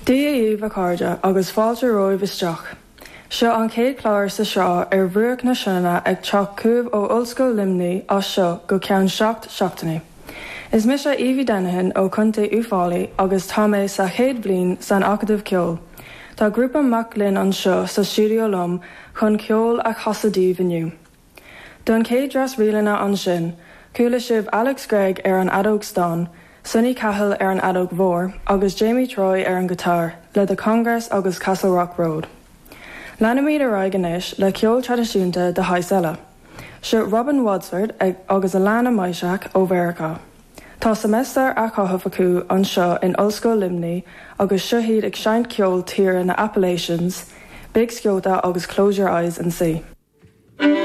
Dia dhaoibh a chairde agus fáilte romhaibh isteach. Seo an chéad chlár sa sraith ar bhruach na Sionainne ag teacht chugaibh ó Ollscoil Luimnigh as seo go ceann 7 seachtainí. Is mise Evie Denihan ó Chontae Uíbh Fhailí agus tá mé sa chéad bhliain san Acadamh Ceoil. Tá grúpa mac léinn anseo sa stiúideo liom chun ceol a chasadh daoibh inniu. Don chéad dreas ríleanna ansin, chuala sibh Alex Gregg ar an fheadóg stáin, Sonny Cahill ar an fheadóg mhór agus Jamie Troy ar an ghiotár le The Congress agus Castlerock Road. Leanfaimid ar aghaidh anois le ceol traidisiúnta de shaghas eile. Seo Robin Wadsworth agus Alana Majchrzak ó Mheiriceá. Tá seimeastar á chaitheamh acu anseo in Ollscoil Luimnigh agus seo iad ag seinnt ceol tíre na Appalachians, Big Sciota agus Close Your Eyes and See.